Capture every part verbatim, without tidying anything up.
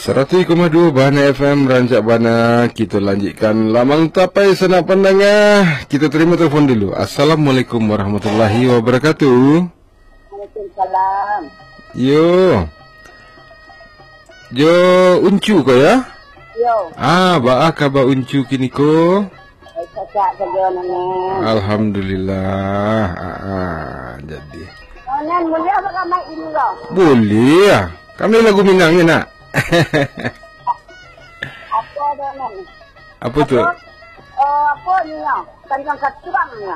Saratuih koma duo Bahana F M, rancak bana. Kita lanjutkan Lamang Tapai, sanak pandanga. Kita terima telepon dulu. Assalamualaikum warahmatullahi wabarakatuh. Waalaikumsalam. Yo. Jo Uncu ko, ya? Yo. Ah, baa kaba Uncu kini ko? Cacak sajo, Noneng. Alhamdulillah. Ah, ah, jadi. Noneng, buliah baramai ini, lo? Buliah. Kami lagu Minang ni, nak. Apa dah, Neng? Apa tu? Apa, eh, apa ni, ya? Tanjuang Katuang, ya?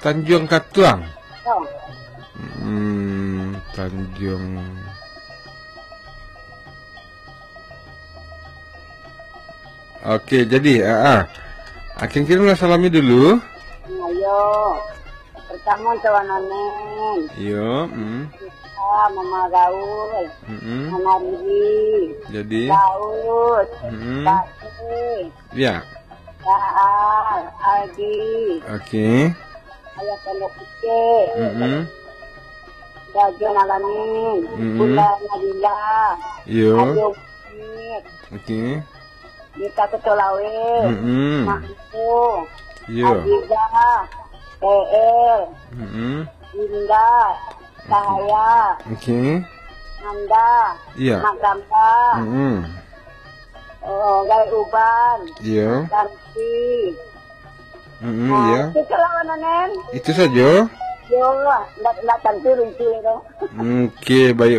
Tanjuang Katuang? Ya. Hmm, Tanjuang. Oke, jadi, ah, ah. Akin kirimlah salami dulu. Ayo. Pertama, Tuan Onen. Iyo, mm. Kita, Mama Gaul. Mm-mm. Mama Riri. Jadi. Gaul. Mm-mm. Pak Cik. Ya. Baal, Aldi. Oke. Ayah Pondok Kecil. Mm-mm. Rajo Alamin. Mm-mm. Bunda Nadila. Iyo. Ajo Mik. Oke. Dita Ketua Laweh. Mm-mm. Mak Ibu. Iyo. Aziza. P L. Mm-mm. Indah. Cahaya. Oke. Nanda. Iya. Mak Gamba. Mm-mm. Oh, Gai Uban. Iya. Tanti. Mm-mm, nah, iya. Itu lah, Wan Onen. Itu saja? Yo, ndak, ndak tantu rinci tu. Oke, baik,